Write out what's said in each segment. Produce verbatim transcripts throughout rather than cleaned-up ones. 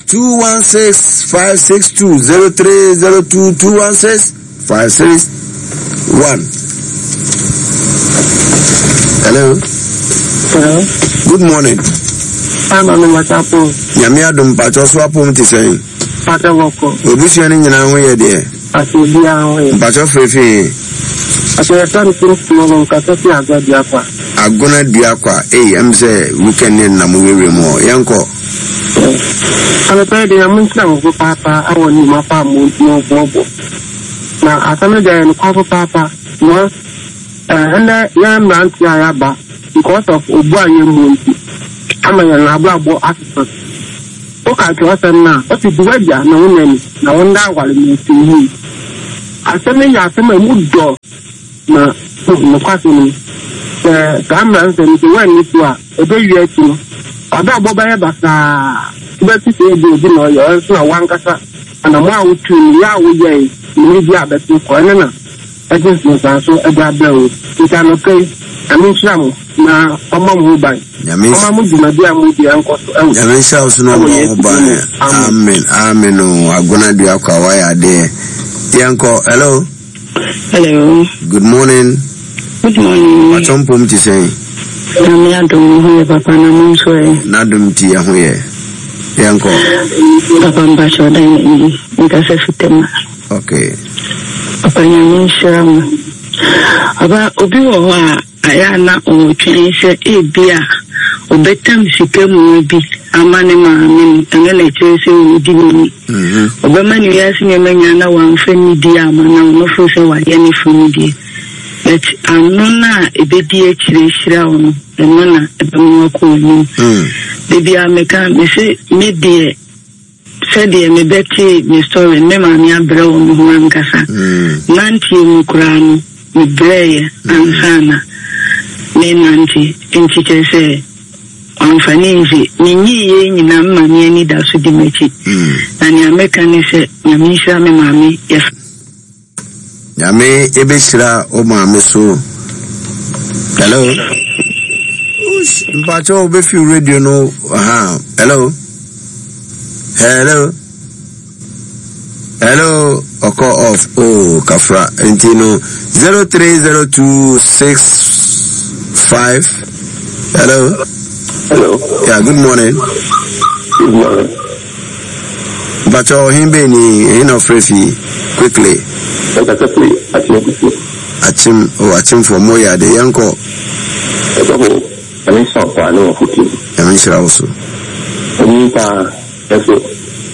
two one six five six two zero three zero two two one six five six one. Hello. Hello. Good morning. Ama mi wata po. Nyame adom mpatsɔ so apom te sɛn. Pata wɔkɔ. Obusua no nyinaa ho yɛ deɛ. Ati obi ahụ yɛ. Mpatsɔ fefee. Ati yɛ mi kuro kuro wɔ nkasa fi agua dua kwa. Agona dua kwa. Ei ɛm sɛ weekend ne nam wewura mu hɔ. Yɛnkɔ. Anɔpa yi deɛ mo nkyerɛ mo papaapa awɔ ne mu afa mo mo bɔbɔ. Na asɛm no deɛ yɛ nokwafo paapa. Because ɛnɛ yɛn mmeranteɛ a yɛaba because of obu a yɛn mu nti ama yɛn abrabɔ asesa. Woka kyerɛ no a ɔte di wagya na wo nani na wo nda aware na esi yie. Asɛm no yɛ asɛm a emu dɔ na nokwasɛm no sɛ saa mmeranteɛ no sɛ wɔanni so a ɛbɛwie akyi no abrabɔ bɛyɛ basaa wobɛte sɛ ebi obi na ɔyɛ ɔyɛ nso na wankasa anamɔ a wotu no yɛ a woyɛe mmiri bi a bɛto kɔ ɛno na ɛde nsensan so ɛde abrɛ wo nti anɔpa yi Nyame nhyira mo na ɔma mo ho ban Nyame ɔma mo dwumadi a modi ɛnkɔ so ɛwɔ Nyame nhyira wo so na ɛwɔ ɔma Yesu ho din ban. mu. Amen. Amen. Amen o. Agona dua kwa wayɛ adeɛ. Yɛnkɔ. Hello. Hello. Good morning. Good morning. Mpatsɔ mpom te sɛn. Nyame adom ho yɛ papa na mo nso ɛ. N'adom ti yɛ ho yɛ. Yɛnkɔ. Papa mpakyɛ ɔdan n'ani. Nkasa fitama. Okay. Papa Nyame nhyira mo. Ɔba obi wɔ hɔ a ayɛ a na ɔretwɛn sɛ ebi a ɔbɛtam sika mua bi ama ne maame no ɛno na ɛkyerɛ sɛ ɔredi n'ani. Mhm. Ɔbɛma ne wiase nneɛma nyinaa na wamfa nidi ama na ɔno fo sɛ wayɛ ne fo no deɛ. But ano no a ɛbɛdi akyire hyira wo no ɛno na ɛbɛma wakɔ w'anim. Mm. Baabi a meka mese me deɛ sɛdeɛ mebɛtee me story me maame abrɛ wɔ me ho ankasa Mm. nanteɛ mu koraa no mebrɛeɛ ansa na menante nti kyerɛ sɛ ɔmfa ne nse menyii yei nyinaa me maame ani da so di m'akyi Mm. na nea meka ne sɛ Nyame nhyira me maame yɛf Nyame ebɛhyira wo maame so. Hello. Ush, mpatsɔ wobɛfi radio no ha. Hello. Hello. Hello. Ɔkɔ off. Oh, kafra. Nti no zero three zero two six five. Hello. Hello. Yeah, good morning. Good morning. Mpatsɔ ɔhen bɛn ni ɛhin na ɔfrɛ fi quickly. Ɛkasa firi Akyem Kusi. Akyem oh akyemfoɔ mo yɛ ade yɛnkɔ. Ɛsɔfo, ɛne nhyira wo paa ne wɔ fotuo. Nyame nhyira wo so. Onyin paa, nso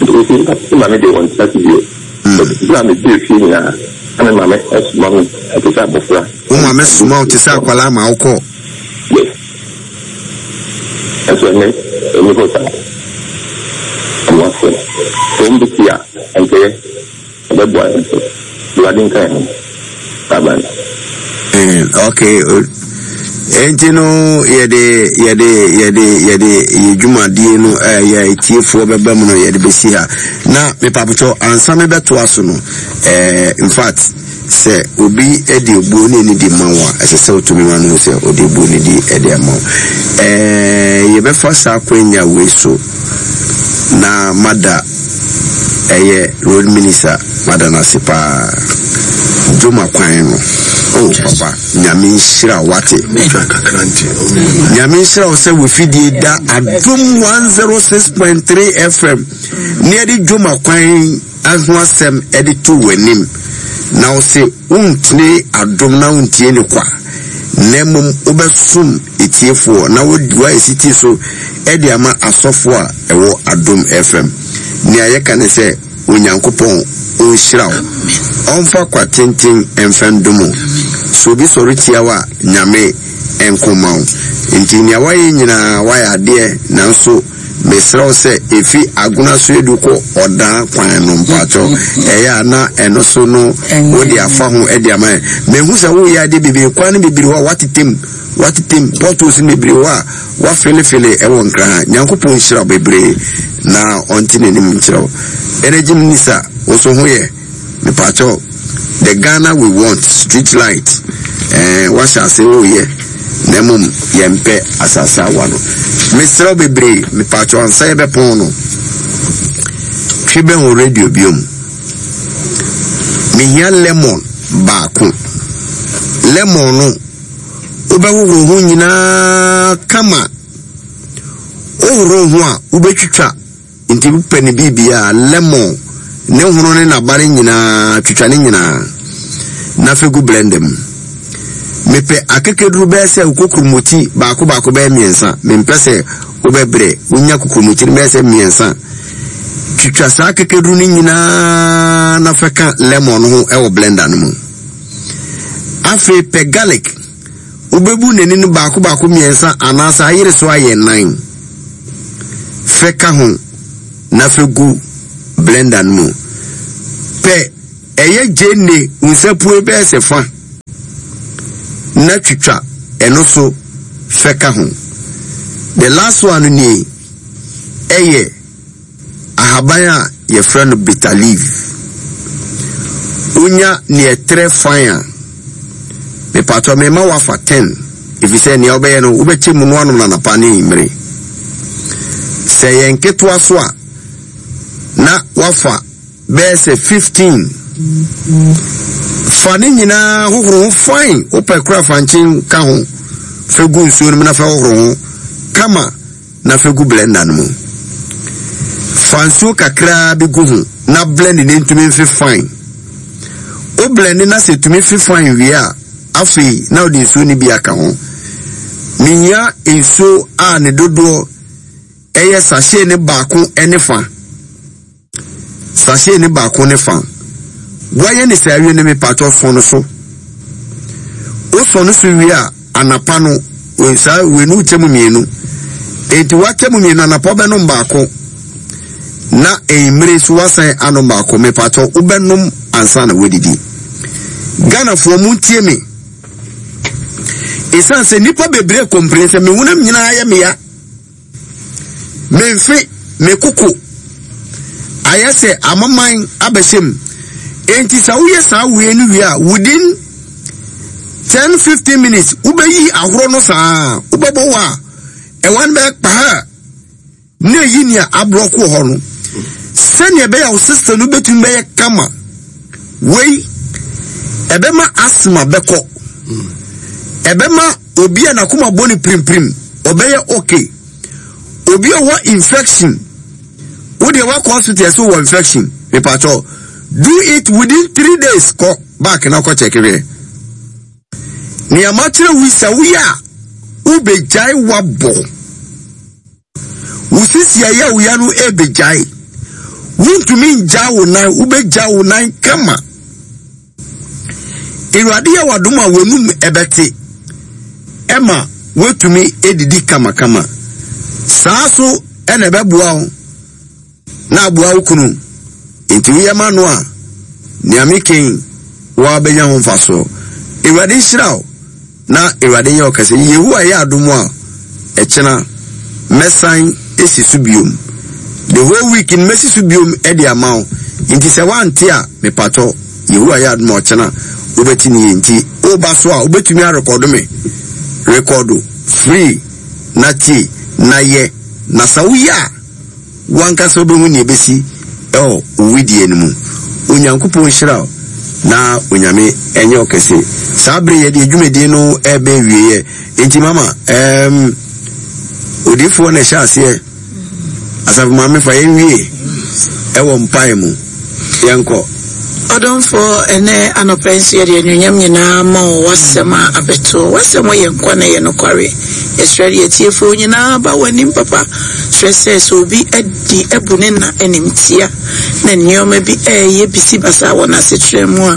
nti me maame de wɔn tena ase bio. Bere a mebɛɛ fie nyinaa, na me maame soma me te sɛ abɔfra. Wo maame soma wo te sɛ akwadaa ma wokɔ. Yes. Nso ɛnnɛ, ɛnni hɔ saa. Ɔmo ase. Sɛ wɔn bɛtie a, ɛnkɛyɛ. Ɛbɛboa yɛn nso. Awurade nka yɛn ho. Bye bye. Mm, okay. Enti no yɛde yɛde yɛde yɛde yɛ dwumadie no ɛyɛ etiefoɔ bɛba mu no yɛde bɛsi ha na mepapotɔ ansa mebɛtoa so no ɛɛ in fact sɛ obi de obuo ne ani di ma wo a ɛsɛ sɛ wotumi ma no sɛ ɔde obuo ne di de ama wo ɛɛ yɛbɛfa saa akwanya wei so na mada ɛyɛ road minister mada no ase paa dwoma kwan no oh papa Nyame nhyira wo wate Nyame nhyira wo sɛ wofidie da Adom one oh six point three F M ne yɛde dwoma kwan ho asɛm ɛde to w'anim na wo se wontene Adom na wontie ne kwa na mmom wobɛsom etiefoɔ na woayɛ sitie so ɛde ama asɔfoɔ a ɛwɔ Adom F M. Nea yɛka ne sɛ Onyankopɔn ɔnhyira wo ɔmfa kwa tenten ɛmfa ndom wo sɛ obi sɔre tia wo a Nyame nkoma wo nti nea wayɛ nyinaa wayɛ adeɛ nanso mesrɛ wo sɛ ɛfi Agona so edu kɔ ɔdan kwan no mpakyɛw ɛyɛ a na ɛno so no wode afa ho de ama yɛn mehu sɛ woyɛ adeɛ bebree kwan no bebree hɔ a watetem watetem potholes no bebree hɔ a wafelefele ɛwɔ Nkran ha Nyankopɔn nhyira wo bebree na ɔnte n'anim nkyerɛ wo energy minister wo so ho yɛ mepakyɛw the Ghana we want street light ɛɛ wahyɛ ase woyɛ na mmom yɛmpɛ asase awa no mesrɛ wo bebree mepakyɛw ansa yɛbɛpɔn no Twe bɛn wo radio biom. Mehia lemon baako. Lemon no, wobɛhohoro ho nyinaa kama. Wohoro ho a, wobɛtwitwa. Nti wopɛ ne biribiara, lemon, ne hono ne n'aba no nyinaa, twitwa ne nyinaa. Na fa gu blender mu. Mepɛ akekeduru bɛyɛ sɛ kokuromoti baako baako bɛyɛ mmiɛnsa. Mempɛ sɛ wobɛbrɛ, wonya kokuromoti no bɛyɛ sɛ mmiɛnsa. Twitwa saa akekeduru no nyinaa na fa ka lemon no ho wɔ blender no mu. Afei pɛ garlic, wobɛbu n'ani no baako baako mmiɛnsa anaasɛ ayere so ayɛ nnan. Fɛ ka ho na fɛ gu blender no mu. Pɛ ɛyɛ gyeene nsapue bɛyɛ sɛ fa na twitwa ɛno so fɛ ka ho. The last one no nie, ɛyɛ ahaban a yɛfrɛ no bitter leaf. Wonya nea ɛtrɛ fan a, mepatɔ mema wafa ten, efisɛ nea wobɛyɛ no wobɛkyɛ mu no anom na anapa ne anwummere. Sɛ ɛyɛ nketewa so a, na wafa bɛyɛ sɛ fifteen. Fa ne nyinaa hohoro ho fine, wopɛ kora fa nkyen ka ho, fa gu nsuo no mu na fa hohoro ho kama na fa gu blender no mu. Fa nsuo kakraa bi gu ho na blend ne ntumi mfe fine. Wo blend na sɛ tumi fe fine wie a, afei na wode nsuo no bi aka ho. Mehia nsuo a ne dodoɔ ɛyɛ sachet ne baako ne fa. Sachet ne baako ne fa. Woayɛ ne saa awie no, mepatɔ sɔ no so. Wosɔ no so wie a, anapa no, saa wei no wokyɛ mu mmienu. Enti woakyɛ mu mmienu, anapa wobɛnom baako na anwummere so woasan anom baako. Mepatɔ wobɛnom ansa na woadidi. Ghanafoɔ montie me. Ɛsiane sɛ nnipa bebree kɔmpire sɛ me honam nyinaa yɛ meya, memfe me koko ayɛ sɛ amaman abɛhyɛ mu. Enti sɛ woyɛ saa wei no wie a, within ten fifteen minutes wobɛyi ahorow no saa, wobɛbɔ wɔ a ɛwɔ no bɛyɛ kpaha na eyi nea aborɔko wɔ hɔ no, sɛnea ɛbɛyɛ a wo system no bɛtumi bɛyɛ kama. Wei ɛbɛma asthma bɛkɔ, ɛbɛma obi a n'akoma bɔ ne pirimpirim ɔbɛyɛ okay. Obi a ɔwɔ infection, wo deɛ wakɔ hospital ɛsɛ wɔ infection, mepatɔ do it within three days, kɔ back na kɔ check hwɛ. Nea makyerɛ wo yi, sɛ woyɛ a wobɛgyae wabɔ wo sisi a ɛyɛ wo ya no ɛbɛgyae. Wontumi ngya wo nan, wobɛgya wo nan kama. Awurade yɛ w'adom a w'anum ɛbɛte ɛma woatumi edidi kamakama. Saa so ɛna ɛbɛboa wo na aboa wo kunu. Nti woyɛ ma no a, nea meken woabɛnya ho mfasoɔ. Awurade nhyira wo na Awurade nyɛ wo kɛse. Yehowa yɛ adom a, ɛkyena mɛsan esi so biom. The whole week no mɛsi so biom ɛde ama wo. Nti sɛ woante a, mepatɔ Yehowa yɛ adom a ɔkyena wobɛte ne yie. Nti woba so a, wobɛtumi arekɔdo me. Rekɔdo free na tie na yɛ. Na sɛ woyɛ a, wankasa wobɛhu nea ɛbɛsi ɛwɔ wo wedeɛ no mu. Onyankopɔn nhyira wo na Onyame ɛnyɛ wo kɛse. Saa bere yɛde adwumadie no ɛbɛ awieɛ. Nti mama, ɛɛm, odiyifoɔ na ɛhyɛ aseɛ. Asafo maame fa yɛn wie ɛwɔ mpae mu. Yɛnkɔ. Ɔdomfoɔ, ɛnɛ anɔpa nso yɛde anuonyam nyinaa ma wo w'asɛm a abɛto. W'asɛm yɛ nkwa na ɛyɛ nokware. Yɛsrɛ de atiefoɔ nyinaa ba w'anim papa. Srɛ sɛ sɛ obi adi abu ne na animtia na nneɛma bi ɛyɛ bisi basa wɔ n'asetena mu a,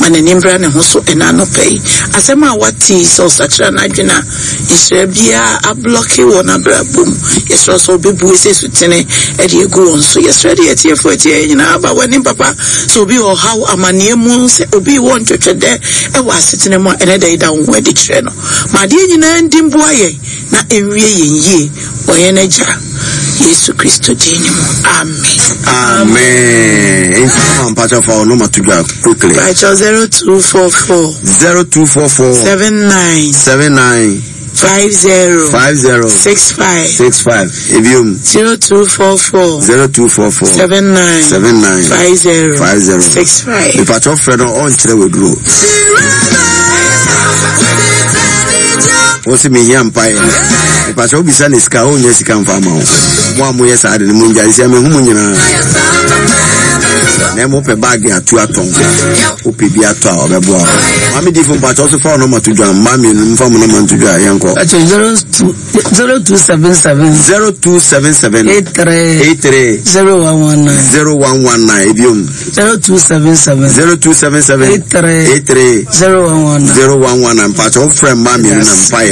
ma n'anim bra ne ho so ɛnɛ anɔpa yi. Asɛm a wate yi, sɛ ɔsakyera n'adwene a, nhyira biara ablɔke wɔ n'abrabɔ mu, yɛsrɛ sɛ ɔbɛbue sɛ sutene ɛde agu wɔn so. Yɛsrɛ de atiefoɔ atie yɛn nyinaa ba w'anim papa. Sɛ obi wɔ ɔhaw amanneɛ mu, sɛ obi wɔ ntwɛtwɛdɛ ɛwɔ asetena mu a, ɛnɛ da yi da wo ho adi kyerɛ no. Ma adeɛ nyinaa ndi mboa yɛn na ɛnwie yɛn yie wɔ yɛn agya Yesu Kristo din mu, amen. Amen. Nti mama mpakyɛ fa wo nɔma to dwa quickly. Pakyɛ zero two four four zero two four four seven nine seven nine Five zero. Five zero. Six five. Six five. Ebiom. Zero two four four. Zero two four four. Seven nine. Seven nine. Five zero. Five zero. Six five. Ìpàtọ́ frɛ no ɔnkyerɛ w'aduro. Wọ́n sì mehia mpaeɛ. Ìpàtọ́ wobisa ne sika ɔnnya sika mfa ama wo. Mo a moyɛ saa de no mo ngyae sɛ mehu mo nyinaa. Na mmom wopɛ baage atu atɔn. Wopɛ bi atɔ a ɔbɛboa wo. Maame difo mpakyɛ so fa wo nɔma to dwa. Mmaa mmienu mfa mo nɔma nto dwa yɛnkɔ. Mpakyɛ zero two zero two seven seven. Zero two seven seven. Eight three. Eight three. Zero one one nine. Zero one one nine ebiom. Zero two seven seven. Zero two seven seven. Eight three. Eight three. Zero one one nine. Zero one one nine mpakyɛ wofrɛ mmaa mmienu na mpaeɛ.